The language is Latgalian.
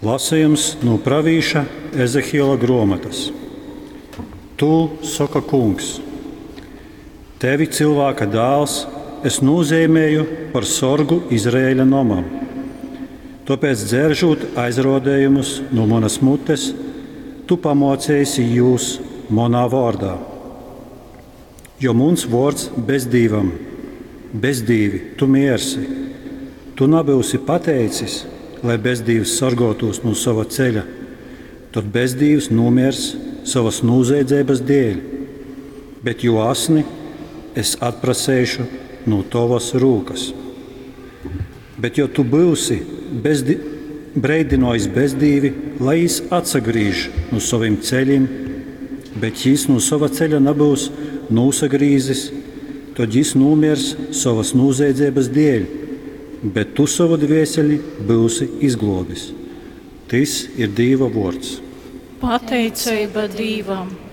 Lasījums no pravīša Ezehiela grāmatas. Tu, saka kungs, tevi cilvēka dēls, es nozīmēju par sorgu Izraēļa nomam. Tāpēc dzēržot aizrodējumus no manas mutes, tu pamocēsi jūs manā vārdā. Jo muns vārds bezdīvam, bezdīvi, tu miersi. Tu nebūsi pateicis, lai bezdīvs sargotos no sava ceļa, tad bezdīvs nomirs savas nūzeidzības dēļ, bet jo asni es atprasēšu no tavas rūkas. Bet jo tu būsi bezdi, breidinojis bezdīvi, lai jis atsagrīž no saviem ceļiem, bet jis no sava ceļa nebūs nosagrīzis, tad jis nomirs savas nūzeidzības dēļ, bet tu savu dvēseli būsi izglābis. Tis ir Dieva vārds. Pateicība Dievam!